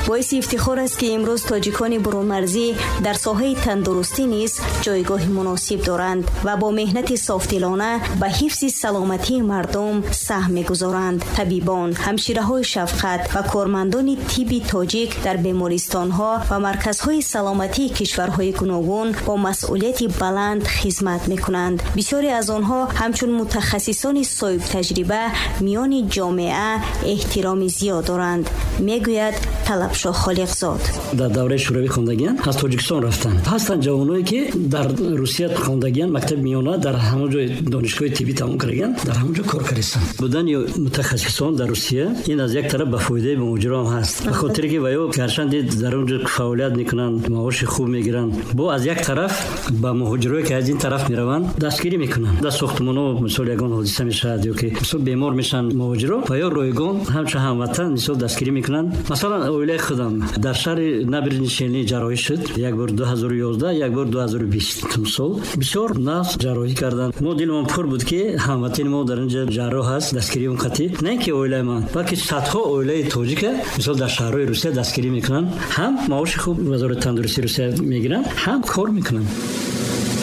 Боиси ифтихор аст, ки имрӯз тоҷикони бурунмарзӣ дар соҳаи тандурустӣ низ ҷойгоҳи муносиб доранд ва бо меҳнати софдилона ба ҳифзи саломатии мардум саҳм мегузоранд. Табибон, ҳамшираҳои шафқат ва кормандони тибби тоҷик дар бемористонҳо ва марказҳои саломатии кишварҳои гуногун бо масъулияти баланд хизмат мекунанд. Бисёре аз онҳо ҳамчун мутахассисони соҳибтаҷриба миёни ҷомеа эҳтироми зиёд доранд, мегӯяд Талабшоҳ Холиқзод. Дар давраи Шӯравӣ хондагиян, аз Тоҷикистон рафтанд. Ҳастанд ҷавоное, ки дар Русия хондагиян, мактаби миёна, дар ҳамон ҷой донишгоҳи тиббӣ тамом кардагиян, дар ҳамон ҷо кор кардастанд. Будани мутахассисон дар Русия ин аз як тараф ба фоидаи муҳоҷирон ҳаст, ба хотире ки ва ё гарчанде дар он ҷо фаъолият мекунанд, маоши хуб мегиранд, бо аз як тараф ба муҳоҷирое, ки аз ин тараф мераванд, дастгирӣ мекунанд. Дар сохтмонҳо, мисол, ягон ҳодиса мешавад ё ки, мисол, бемор мешаванд муҳоҷиро, ва ё ройгон ҳамчун ҳамватан, мисол, дастгирӣ мекунанд. Масалан, оилаи худам дар шаҳри Набережные Челны ҷарроҳӣ шуд, як бор 2011, як бор 2020 сол. Бисёр нағз ҷарроҳӣ карданд. Мо дилмон пур буд, ки ҳамватани мо дар инҷа ҷарроҳ ҳаст, дастгирии он қатъӣ на ин ки оилаи ман, балки садҳо оилаи тоҷика, мисол, дар шаҳрҳои Русия дастгирӣ мекунанд. Ҳам маоши хуб Вазорати тандурустии Русия мегиранд, ҳам кор мекунанд.